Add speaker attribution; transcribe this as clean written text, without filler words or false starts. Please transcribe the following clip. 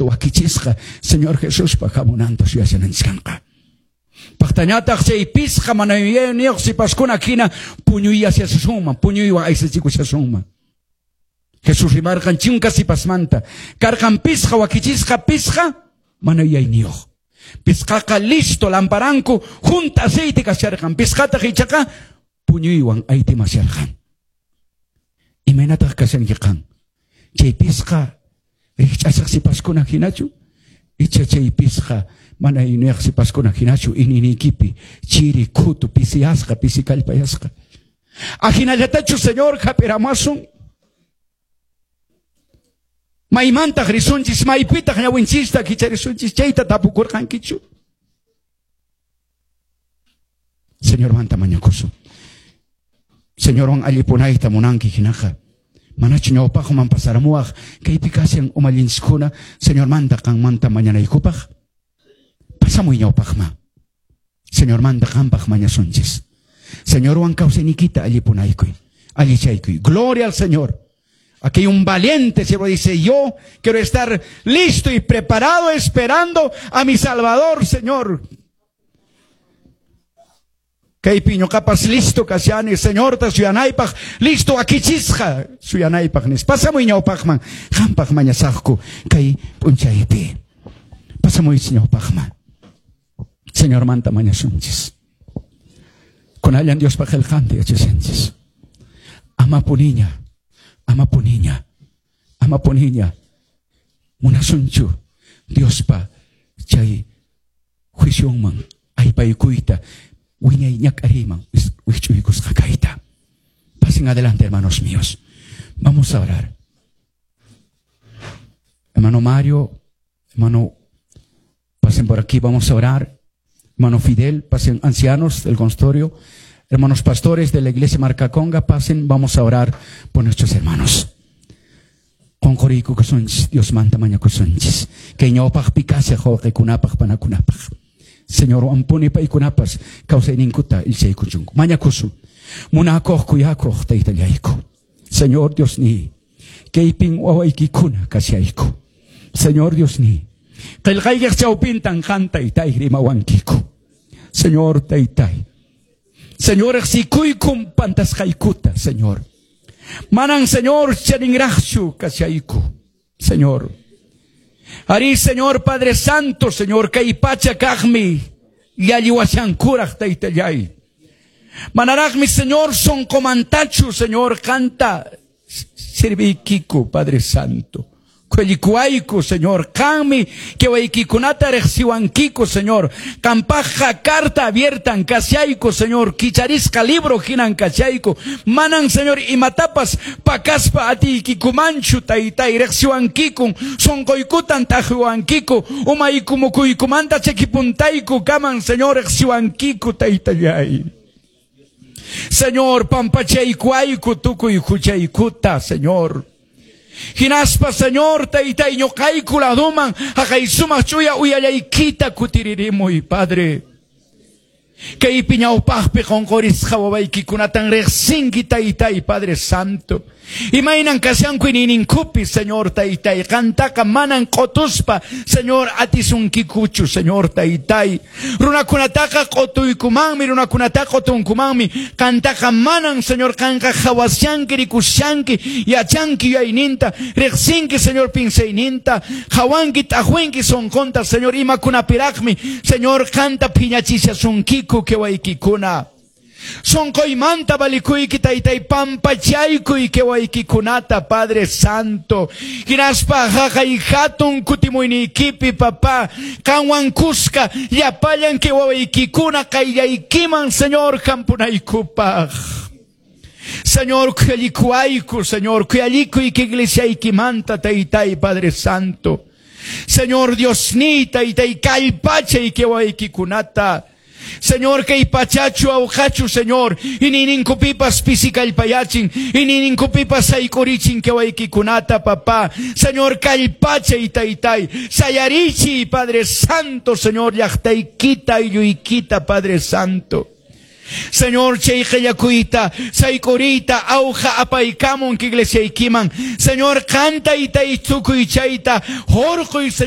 Speaker 1: Wakichisqa Señor Jesuspa hamunanta suyashananchis kanqa. Paqtañataq chay pisqa mana yuyayniyuq sipaskuna hina puñuyashasunman, puñuywan aysachikushasunman. Jesús rimarqan chunka sipasmanta. Karqan pisqa wakichisqa, pisqa mana yuyayniyuq. Pisqaqa listo lamparanku junta aceite kasharqan. Pisqataq ichaqa puñuywan aytimasharqan. Imaynataq kashanki qan? Chay pisqa rikch'asaq sipaskuna hinachu? Icha chay pisqa mana yuyayniyuq sipaskuna hinachu iñiyniykipi chiri, khutu, pisiyasqa, pisi kallpayasqa? Ajinallatachu Señor hap'iramasun? Maymantaq risunchis, maypitaq ñawinchista kicharisunchis, chayta tapukurqankichu? Señormanta mañakusun. Señorwan allipunayta munanki hinaqa, manachu ñawpaqman pasaramuwaq kaypi kashan umallinchiskuna Señormanta qanmanta mañanaykupaq? Pasamuy ñawpaqman. Señormanta qampaq mañasunchis. Señorwan kawsayniykita allipunaykuy, allichaykuy. Gloria al Señor. Aquí hay un valiente siervo, dice, yo quiero estar listo y preparado esperando a mi Salvador, Señor. Kaypi ñuqapas listo kashani, Señorta suyanaypaq, listo akichisqa suyanaypaq nis. Pasamuy ñawpaqman, qampaq mañasaqku kay p'unchaypi. Pasamuy ñawpaqman. Señormanta mañasunchis. Kunallan Diospa qillqanta yachashanchis. Ama puniña, ama puniña, ama puniña. Munasunchu Diospa chay juicionman aypaykuyta, wiñay ñak'ariyman wikch'uykusqa kayta. Pasen adelante, hermanos míos. Vamos a orar. Hermano Mario, hermano, pasen por aquí, vamos a orar. Hermano Fidel, pasen ancianos del consultorio. Hermanos pastores de la iglesia Marcaconga, pasen, vamos a orar por nuestros hermanos. Qonqoriykukusunchis, Diosmanta mañakusunchis. Kay ñawpaqpi kashaq wawqikunapaq, panakunapaq. Señor, ampuni paykunapas kawsayninkuta ilchaykuchunku. Mañakusun. Munakuq, kuyakuq taytallayku. Señor Dios ni, kaypin wawaykikuna kashayku. Señor Dios ni, qillqaykiq chawpintan qan taytay rimawankiku. Señor taytay. Señor, riqsikuykum pantasqaykuta, Señor. Manan, Señor, chaninraqchu kashayku, Señor. Ari, Señor Padre Santo, Señor, kay pacha kaqmi llalliwashankuraq taytallay. Manaraqmi, Señor, sonqomantachu, Señor, qanta sirviykiku, Padre Santo. Khuellikuayku, Señor, qanmi kewaykikunata riqsiwankiku, Señor. Qampaqqa carta abiertan kashayku, Señor, kicharisqa libro hinan kashayku. Manan, Señor, imatapas pakaspa atiykikumanchu, taytay, riqsiwankikun, sonqoykutan t'aqwiwankiku, umayku mukuykumanta chakipuntayku kaman, Señor, riqsiwankiku, taytallay. Señor, pampachaykuayku tukuy huchaykuta, Señor. Hinaspa, Señor, taytay ñuqayku laduman haqay sumaq ch'uya uyallaykita kutiririmuy, Padre. Kaypi ñawpaqpi qonqorisqa wawaykikunatan riqsinki, taytay, Padre Santo. Imaynan kashanku iñiyninkupi, Señor, taytay. Qantaqa manan q'otuspa, Señor, atisunkikuchu, Señor, taytay. Runakunataqa q'otuykumanmi, runakunataqa q'otunkumanmi. Qantaqa manan, Señor, qanqa qhawashanki, rikushanki, yachanki yuyayninta, riqsinki, Señor, pinsayninta, qhawanki, t'aqwinki sonqonta, Señor, imakunapiraqmi, Señor, qanta phiñachishasunkiku kewaykikuna. Sonqoymanta valikuyki, taytay, pampachaykuy kewaykikunata, Padre Santo. Hinaspa haqay hatun kutimuyniykipi, papá, qanwan kuska llapallan kewaykikuna qayllaykiman, Señor, hampunaykupaq. Señor, khuyallikuayku, Señor, khuyallikuy iglesiaykimanta, taytay, Padre Santo. Señor Dios ni, taytay, kallpachay kewaykikunata. Señor, kay pachachu awqachu, Señor, iñiyninkupipas pisi kallpayachin, iñiyninkupipas sayk'urichin kewaykikunata, papá. Señor, kallpachay, taytay, sayarichiy, Padre Santo, Señor, llaqtaykita, aylluykita, Padre Santo. Señor, chay qillakuyta, sayk'uriyta, awqa apaykamun iglesiaykiman. Señor, qanta itay tukuy chayta, hurquy, Señor.